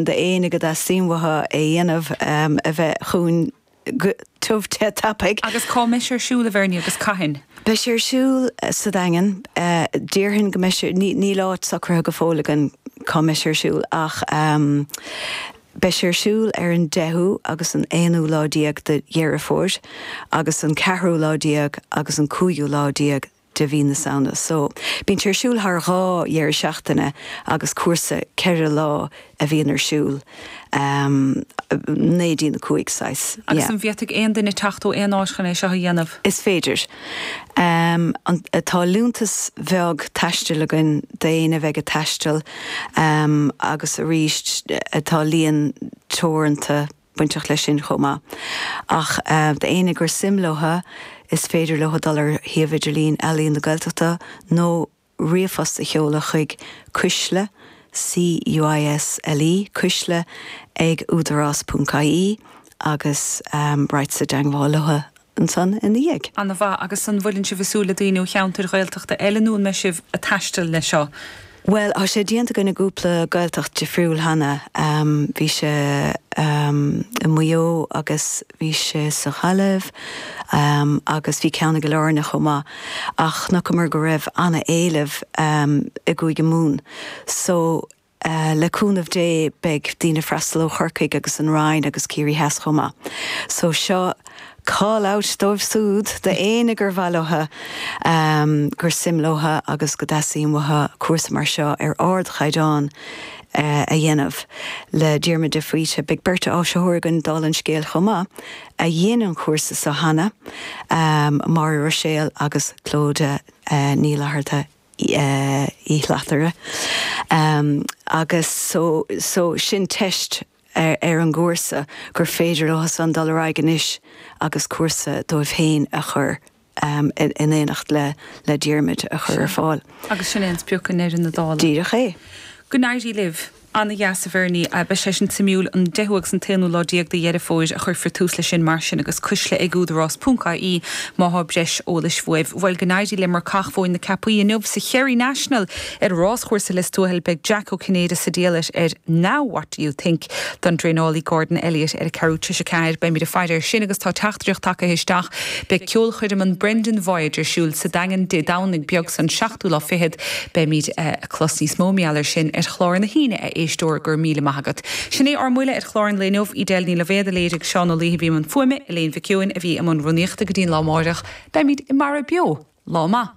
D'éinne go dteastaíonn uathu é a dhéanamh, a bheith chugainn go tiubh te tapaidh. Agus cá mbeidh sé ar siúl, a Bhernie, agus cathain? Beidh sé ar siúl sa Daingean. Déarfainn go mbeidh sé, níl áit socraithe go fóill againn cá mbeidh sé ar siúl ach beidh sé ar siúl ar an deichiú agus an aonú lá déag de Dheireadh Fómhair agus an ceathrú lá déag agus an cúigiú lá déag de mhí na Samhna. So, bíonn sé ar siúl thar 2 dheireadh seachtaine agus cúrsa 4 lá a bhíonn ar siúl, 9 dtí'n 5 saghas, yeah. Agus an bhféadfaidh aon duine teacht ó aon áit chun é seo a dhéanamh? Is féidir. Tá liúntas bheag taistil againn d'éinne a bheidh ag taisteal agus arís tá líon teoranta bainteach leis sin chomh maith. Ach d'éinne gur suim leo, is féidir leo dul ar shuíomh idirlín Ealaín na Gaeltachta nó ríomhphost a sheoladh chuig cuisle, C-U-I-S-L-E, cuisle ag údarás ponc ie agus raghadsa i dteangmháil leo ansan ina dhiaidh. Ana mhaith. Agus an bhfuileann sibh ag súil le daoine ó cheantair Ghaeltachta eile nó an mbeidh sibh ag taisteal leis seo? Bhuel, tá sé déanta againn i gcúpla Gaeltacht difriúil cheana. Bhí sé i Maigh Eo agus bhí sé sa Ghaillimh agus bhí ceann i gCill Airne chomh maith. Ach chonaiceamar go raibh ana-éileamh i gCúige Mumhan. So, Le cúnamh Dé beidh daoine ag freastal ó Chorcaigh agus an Rinn agus Ciarraí Theas chomh maith. So seo call out dóibh súd, d'éinne gur mhaith leo, gur suim leo agus go dteastaíonn uathu cúrsa mar seo ar ardchaighdeán a dhéanamh le Diarmuid de Faoite. Beidh beirt áisitheoir againn dála an scéil chomh maith a dhein an cúrsa seo cheana, Máire Ruiséal agus Clodagh Ní Fhlatharta. Uí Shlatara agus so so sin teist ar an gcúrsa gur féidir leo san dul ar aghaidh anois agus cúrsa dóibh féin a chur in éineacht le le Diarmuid a chur ar fáil. Agus sin é an sprioc i ndeireadh na dála. Díreach é. Go n-éirí libh. Ana-dheas a Bhernie. Beidh sé sin suimiúil. An deichiú agus an t-aonú lá déag de Dheireadh Fómhair a chuirfear tús leis sin mar sin agus cuisle ag údarás ponc ie má thá breis eolais uaibh. Bhuel go n-éirí le Marcach Mhóin na Ceapaí inniu sa Cherry National ar ráschúrsa Lios Tuathail. Beidh Jack Ó Cinnéide sa diallait ar Now What Do You Think don dtraenálaí Gordon Elliott ar a ceathrú tar éis a ceathair. Beimid ag faire air sin agus tá teachtaireacht tagtha isteach. Beidh ceolchoirm an Brendan Voyage ar siúl sa Daingean Dé Domhnaigh beag san, seachtú lá fichead. Beimid ag clos níos mó mar gheall air sin ar chlár na hAoine, a éisteoir, go raibh míle maith agat. Sin é ár mbuille ar chlár an lae inniu. Edel Ní Loibhéad a léirigh, Seán Ó Laoithe a bhí i mbun fuaime, Elaine Mhic Eoin a bhí i mbun rúnaíochta go dtí an lá amáireach. Beimid i mBarra Beo. Lá maith.